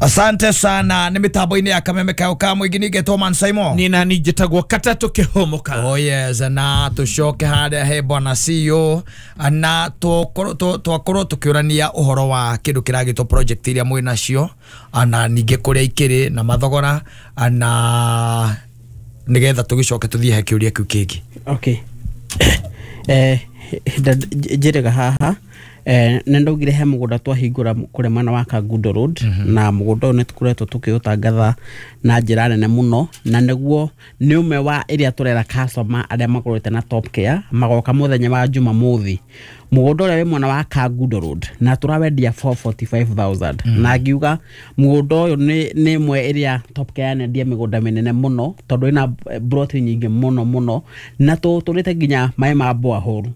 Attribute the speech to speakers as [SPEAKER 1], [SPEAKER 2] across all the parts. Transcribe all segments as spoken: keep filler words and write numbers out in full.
[SPEAKER 1] Asante sana. Nĩ mĩtambo-inĩ ya Kameme kayo ka mũingĩ ningĩtwo Man Simon.
[SPEAKER 2] Nĩ nani njĩtagwo Katatũ Kĩhũmũka.
[SPEAKER 1] Oh yes, na tũcoke harĩa he bwana C E O na tũkorwo twakorwo tũkĩũrania ũhoro wa kĩndũ kĩragĩtwo project iria mwĩ nacio, na ningĩ kũrĩa ikĩrĩ na mathogora, na nĩgetha tũgĩcoke tũthiĩ he kĩũria kĩu kĩngĩ.
[SPEAKER 3] Okay, eh njĩrĩga haha, eh, nĩ ndaugire he mũgũnda twahingũra kũrĩa mwena wa Kangundo Road mm -hmm. Na mũgũnda ũyũ nĩ tũkoretwo tũkĩũtangatha na njĩra nene mũno, na nĩguo nĩ ũmwe wa ĩrĩa tũrera customer arĩa magũrĩte na Top Care magoka mũthenya wa Jumamothi. Mũgũnda ũrĩa wĩ mwena wa Kangundo Road na tũrawendia mĩrongo ĩna na ithano mm. Na ngiuga mũgũnda ũyũ nĩ nĩ ĩmwe ĩrĩa Top Care yanendia mĩgũnda mĩnene mũno, tondũ ĩna broti nyingĩ mũno mũno, na tũtũrĩte nginya maĩ ma borehole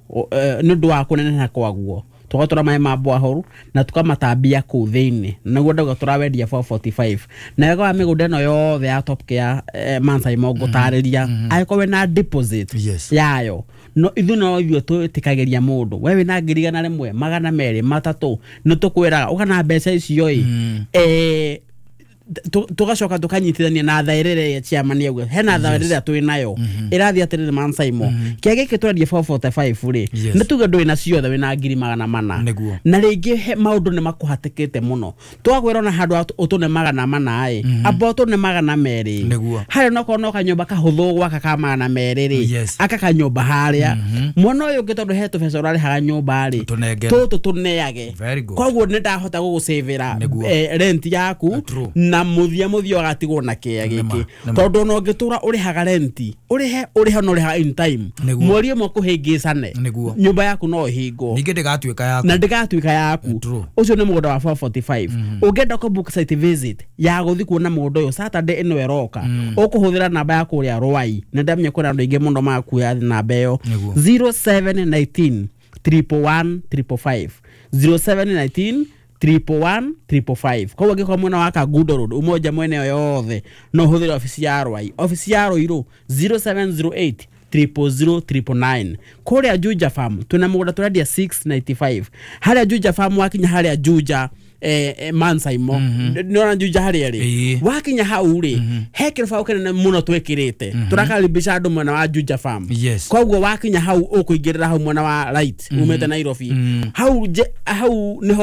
[SPEAKER 3] nĩ ũndũ wa kũneneha kwaguo, tũgatũra maĩ ma borehole na tũkamatambia kũu thĩinĩ. Nĩguo ndauga tũrawendia mĩrongo ĩna na ithano. Na wega wa mĩgũnda ĩno yothe ya Top Care, eh, Mansaimo, ngũtarĩria angĩkorwo wĩna deposit
[SPEAKER 1] Yes.
[SPEAKER 3] yayo, no ithuĩ no ithuĩ twĩtĩkagĩria mũndũ we wĩna ngiri igana rĩmwe, magana merĩ, matatũ, nĩ tũkwĩraga ũka na mbeca icio ĩ eh, tu- tugacoka tukanyitithania na thaĩrĩra ĩrĩa chairman auga hena thaĩrĩra twĩ nayo ĩrathiĩ atĩrĩrĩ, Mansaimo, kĩa gĩkĩ twendia mĩrongo ĩna na ithano rĩ,
[SPEAKER 1] Yes.
[SPEAKER 3] nĩ tuge ndũrĩ na ciothe, wĩna ngiri magana mana
[SPEAKER 1] Nĩguo.
[SPEAKER 3] na rĩngĩ he maũndũ nĩ makũhatĩkĩte mũno, twakwĩra ona handũ ha ũtũne magana mana ĩ, amba ũtũne magana merĩ.
[SPEAKER 1] Nĩguo.
[SPEAKER 3] Harĩa nokorwo no kanyũmba kahũthũ gwaka ka magana merĩ rĩ,
[SPEAKER 1] Yes.
[SPEAKER 3] aka kanyũmba harĩa mwena ũyũ ũngĩ, tondũ he tũbeca ũrarĩhaga nyũmba rĩ,
[SPEAKER 1] Tũnengere.
[SPEAKER 3] tũtũ tũneage.
[SPEAKER 1] Very good.
[SPEAKER 3] Koguo nĩ ndahota gũgũcĩvĩra
[SPEAKER 1] Nĩguo.
[SPEAKER 3] eh, rent yaku
[SPEAKER 1] True.
[SPEAKER 3] na mũthia mũthia ũgatigwo na kĩa
[SPEAKER 1] Nĩma,
[SPEAKER 3] gĩkĩ,
[SPEAKER 1] nĩma.
[SPEAKER 3] tondũ ona ũngĩtũra ũrĩhaga renti, ũrĩhe ũrĩhe na ũrĩhaga in time,
[SPEAKER 1] Nĩguo.
[SPEAKER 3] mweri ũmwe kũhĩngĩcane,
[SPEAKER 1] Nĩguo.
[SPEAKER 3] nyũmba yaku no ĩhingwo.
[SPEAKER 1] Ningĩ ndĩgatuĩka yaku.
[SPEAKER 3] Na ndĩgatuĩka yaku.
[SPEAKER 1] True.
[SPEAKER 3] Ũcio nĩ mũgũnda wa mĩrongo ĩna na ithano. Ũngĩenda kũ book site visit ya gũthiĩ kuona mũgũnda ũyũ Saturday ĩno ĩroka, ũkũhũthĩra namba ya kũrĩa Rwai, na ndamenya kwĩna andũ aingĩ mũno makuoya namba ĩyo.
[SPEAKER 1] Nĩguo.
[SPEAKER 3] zero seven one nine triple one triple five, zero seven one nine triple one triple five. Koguo angĩkorwo mwena wa Kangundo Road, Umoja, mwena ĩyo yothe, no ũhũthĩre obici ya Rwai. Obici ya Ruiru, zero seven zero eight triple zero triple nine. Kũrĩa Juja Farm twĩna mũgũnda tũrendia mĩrongo ĩnana na ithathatũ. Harĩa Juja Farm, wakinya harĩa Juja, eh, eh, Mansaimo, nĩona Juja harĩa rĩ,
[SPEAKER 1] Ĩĩ.
[SPEAKER 3] wakinya hau rĩ, he kĩrũbaũ kĩnene mũno twĩkĩrĩte tũrakaribisha andũ mwena wa Juja Farm.
[SPEAKER 1] Yes.
[SPEAKER 3] Koguo wakinya hau ũkũingĩrĩra hau mwena wa right umĩte Nairobi, hau nje- hau nĩho.